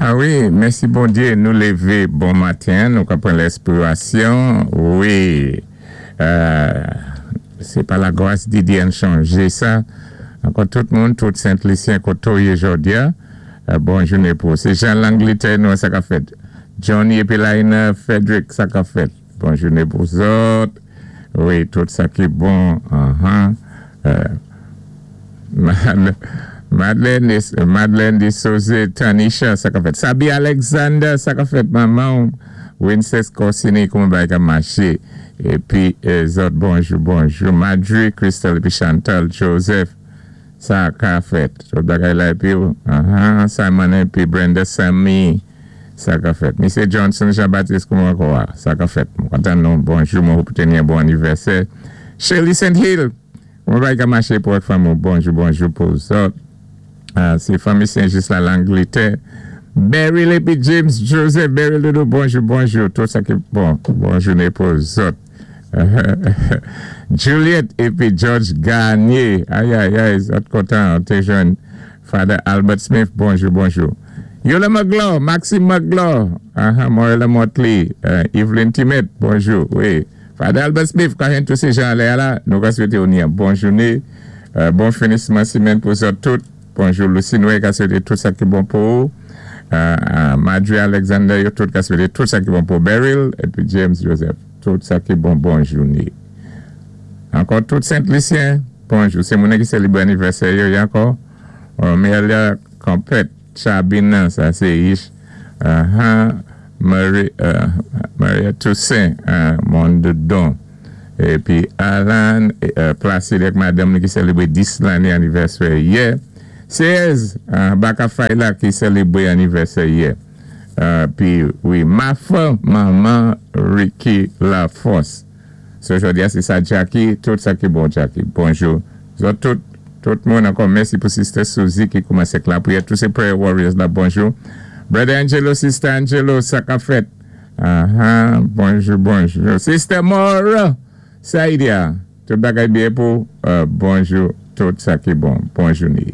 A wi, mèsi Bondyé, nou lévé bon maten, nou ka pran lèspirasyon, wi. Sé pa lagras di Dyé, ann chonjé sa. Ankò tout moun, tout Sent Lisyen koté ou yé jòdi-a, bon jouné pou ou. Sé Jan Langlitè nou, sa k-ap fèt? Johnny épi Laina Frederick, sa k-ap fèt? Bon jouné pou zòt. Wi, tout sa ki bon. Madeleine, Madeleine de Souze, Tanisha, sa k-ap fèt? Sabi Alexander, sa k-ap fèt, manman? Winces Corsini, kouman bagay ka maché? Épi zòt, bonjou, bonjou. Madry, Crystal épi Chantal Joseph, sa ka fèt? Tout bagay la épi Simon épi Brenda Sammy, sa ka fèt? Misye Johnson Jean-Baptiste, kouman ankò, sa ka fèt? Mwen kontan nou. Bonjou, mwen hope ni yon bon anivèsè. Shirley St. Hill, kouman bagay ka maché pou ak fanmi? Bonjou, bonjou pou zòt. Sé fanmi Saint-Just la, Langlétè. Beryl épi James Joseph, Beryl Dodo, bonjou, bonjou. Tout sa ki bon, bon jouné pou zòt. Juliette épi George Garnier, ay ay ay, zòt kontan, té jwenn Father Albert Smith, bonjou, bonjou. Yola McGlaw, Maxime McGlaw, Moira Motley, Evelyn Timet, bonjou, wi. Father Albert Smith, ka tout sé jan anlè la, nou ka swété ou ni yon bon jouné, bon finisman simèn pou zòt tout. Bonjou Lucy Noé, ka swété tout sa ki bon pou ou. Marjorie Alexander, yo tout ka swété tout sa ki bon pou Beryl épi James Joseph. Tout sa ki bon, bon jouné. Ankò tout Sent Lisyen, bonjou. Sé moun ki sélébré anivèsè yo, ankò. Melia Campet, Chabina, sa sé Ish. Marie, Maria Toussaint, Mondodon. Épi Alan Placide ak madanm ki sélébré 10 lanné anivèsè yè. 16 Baka Fayla ki sélébré anivèsè yè. Pi wi, Mafa, manman Ricky Laforce. So jòdi-a sé sa Jackie, tout sa ki bon Jackie. Bonjou. Zòt tout, tout moun ankò mèsi pou Sister Suzy ki koumansé lapriyè. Tout sé prayer warriors la, bonjou. Brother Angelo, Sister Angelo, sa k-ap fèt? Bonjou, bonjou. Sister Mora, Saidia, tout bagay byen pou, bonjou, tout sa ki bon. Bon jouné.